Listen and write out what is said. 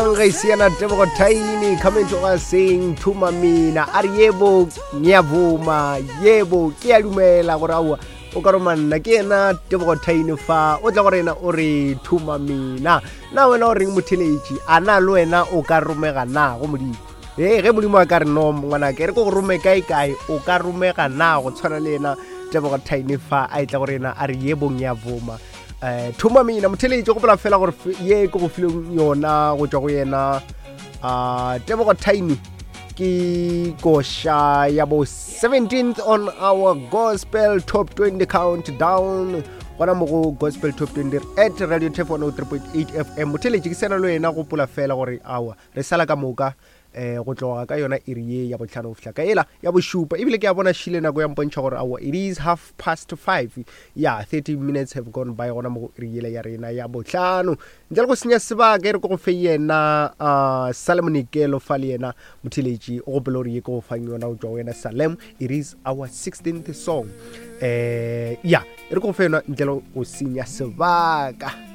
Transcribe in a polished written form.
mang ge se yena Tebogo Thaini coming to us saying thuma mina a re yebo ngiyavuma yebo ke a dumela gore aowa o ka roma nna ke yena Tebogo Thaini fa o tla go rena o re thuma mina na wena o reng motheletši a na le wena o ka romega na go modimo ee ge modimo a ka re no ngwanake re ko go rome kae kae o ka romega na go tshwana le yena Tebogo Thaini fa a e tla go rena a re yebo ngiyavuma um thoma mina motheletši gopola fela gore ye ke go fileng yona go tšwa go yena um tebogo tiny ke koša ya bo 17th on our gospel top 20 countdown gona mo go gospel top 20 at radio tef 103.8 fm motheletši ke sena le wena gopola fela gore awa re sala ka moka eh go tloga ka yona iri ye ya botlhano go fihla ka ela ya bošupa ebile ke a bona šile nako ya mpontšha gore aowa it is half past five ya 30 minutes have gone by gona mo go iri yela ya rena ya botlhano ntle le go senya sebaka e re ko go fe yena uh, salem nikelo fa le yena motheletši o gopele gore ye ke go fang yona go tšwa go yena salem it is our 16th song eh ya e re ko go fe yona ntle le go senya sebaka.